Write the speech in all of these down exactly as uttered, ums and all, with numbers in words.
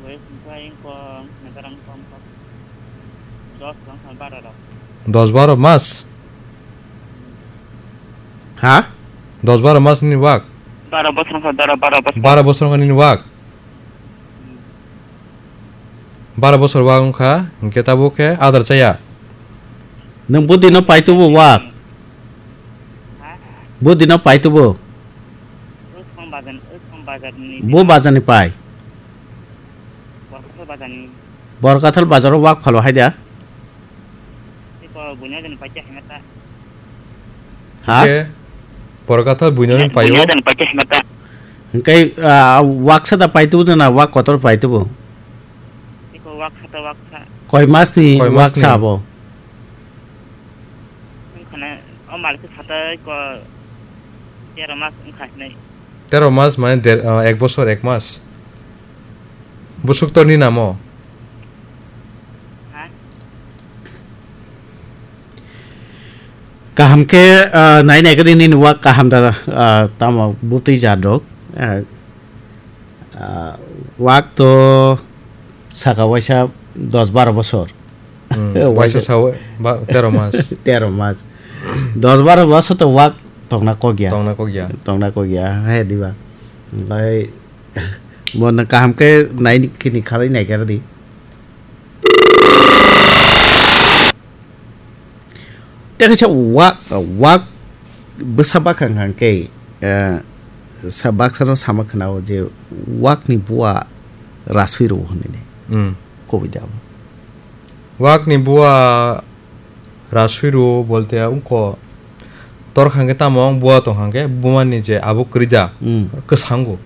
Wngkha, wngkha, wngkha, wngkha, wngkha. Dos, wngkha, baro rok. Dos baro mas? Ha? Dos baro mas nini wak? Baro bosor wngkha, baro, baro bosor. Baro bosor wngkha nini wak? Baro bosor wak wngkha, hinkhe tabuk khe adar chaya? Nwng budino paitubu wak? Ha? Budino paitubu? Wsong bazar, wsong bazarni. Bo bazarni pai? Borkathal bazarni. Borkathal bazaro wak phalo hai da? Tiko buino jani paikya hwnwi ta. Ha? Hwnkhe Borkathal buino jani paio. Buino jani paikya hwnwi ta. Hwnkhe, ah, waksa da paitubu na wak kotor paitubu? Tiko waksa ta waksa. Koi masni Koi waksa masni? Abo? Wngkhane o malkhe satai ko tero mas wngkha hinwi. Tero mas mane der, ah, ek bosor ek mas. Busuk torni namo? Ha? Kaham khe, ah, nai nai khe nini wak kaham da, ah, tamo butwi jat rok. Ah, ah, wak to saka waisa dos baro bosor. Hmm, waisa waisa sawi ba tero mas. Tero mas. Dos baro bosor to wak tongna kokya. Tongna kokya. Tongna kokya. Hai diba. Bai Bo nang kaham khe nai kini khalai nai khe di. Tei kaisa wak, wak bwsa bakha hwnkha khe, eh, sa-, baksa no sama khna o je wakni bua rasui rw hwnwi ne. Hmm. Kubui da bo. Wakni bua rasui rw bolte wngkha tor hwnkha khe tamo bua tong hwnkha khe buma ni je abo kwrwi da. Hmm. Kwsa wngo.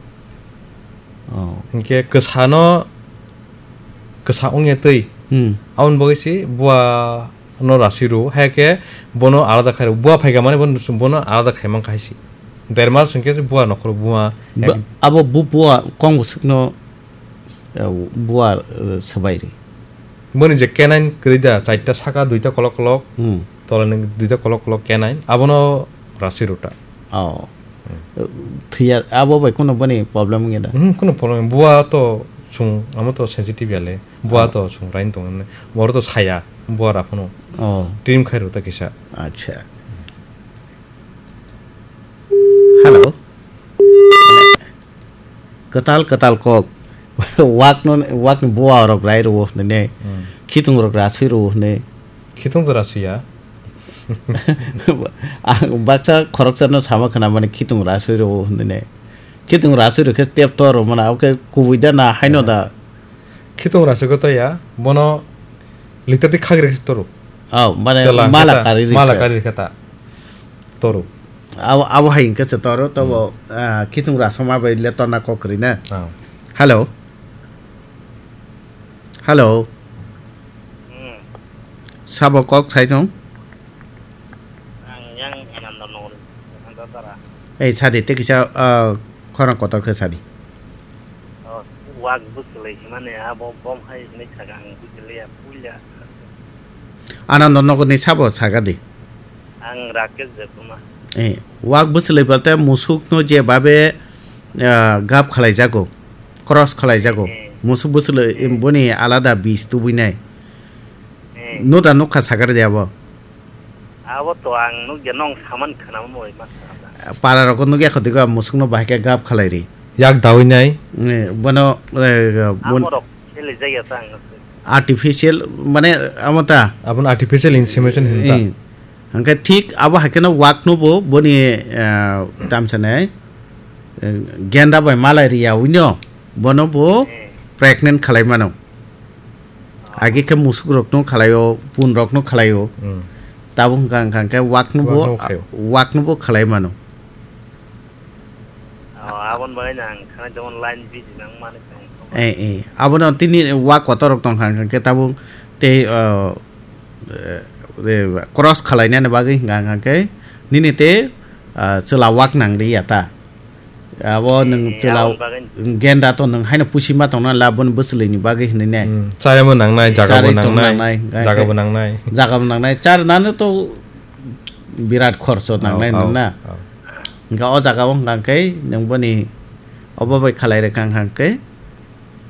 Oh. Hinkhe kwsano kwsa wngya twi. Hmm. Aboni bagwi se bua no rasui rw, hai khe bono alada khai rw. Bua phaikha mani bono, bono alada khai mankha hai se. Der mas hinkhe se bua nokhoro buma. Ba-, ek- abo bu-, bua kong bwswkno, eh, bua, eh, swbai rw. Boni je canine kwrwi da, chaita saka, duita kolok kolok, hmm, tolani duita kolok kolok canine, abono rasui rw ta. Oh. Hmm. Thwiya, abo bai kunu boni problem wngya da? Hmm, kunu problem. Bua to chwng, amo to sensitive ya le. Bua, oh, to chwng rain tong, oro to saya, bua ra phano. Oh. Trim khai rw ta kisa. Acha. Hello. Kwtal kwtal kok. Wakno, wakni bua rok rai rw hwnwi ne. Hmm. Khitung rok rasui rw hwnwi. Khitung to rasui ya. Ang baksa khoroksa no sama khna mani khitung rasui rw hwnwi ne. Khitung rasui rw khe tep to rw mana, oke kubui da na haino da. Khitung rasui khe to ya, bono likta twi khagri khe to rw. Oh, mane chwla mala khe ta, kari rw mala khe. Kari rw khe ta. To rw. Abo, abo hai hwnkhe se to rw, to bo, hmm, ah, khitung rasoma bai le to na kok kwrwi na. Ah. Hello. Hello. Hmm. Sabo kok sai thung? Ang yang Ananda Nagar, Ananda Dara. Ei, sadi, tei kisa, ah, khorang kotor khe sadi. Oh, wak bwswlwi himani abo bom hai hinwi saka ang bujiliya, puila. Ananda Nagar ni sabo saka di. Ang Rakesh Debbarma. Eh, wak bwswlwi balte musuk no je babe, ah, gap khalai jago, cross khalai jago. Eh. Musuk bwswlwi, eh, boni alada bis tubui nai. Eh. Nuda nukha sakar de abo. Abo to ang nukya, nong saman khwnama moi ma sa. Para rok nukya kho digo musuk no bahai khe gap khalai ri. Yak dawi nai. Eh, bono, eh, bon- Amo rok khele jaya ta ang. Artificial, mane, amo ta? Aboni artificial insemination hinta. Eh. Hwnkhe thik abo hai kheno wak no bo boni, eh, tamsa nai, eh, genda bai malai riya wino, bono bo, eh, pregnant khalai mano. Agi khe musuk rok no khalai o, pun rok no khalai o. Hmm. Tabuk hwnkha, hwnkha khe wak no bo, wak no khaio. Wak no bo khalai mano. Oh, aboni bagwi no ang khana jemon line busy nang mani tong. Eh, eh. Abono tini wak kotor rok tong kha, hwnkha khe tabuk tei, oh, eh, eh, cross khalai nani bagwi hwnkha, hwnkha khe nini tei, ah, chwla wak nang ri ya ta. Abo, eh, nwng, eh, chwla aboni bagwi genda to nwng haino pusi ma tong na la, boni bwswlwi ni bagwi hinwi ne. Hmm. Charimo nang nai, jaga bo nang nai. Charwi tong nang nai, hwnkha khe jaga bo nang nai. Jaga bo nang nai. Char nani to birat khorcho nang nai, oh, nang na. Oh. Hwnkha o jaga o hwnkha khe nwng boni obo bai khalai rwkha hwnkha khe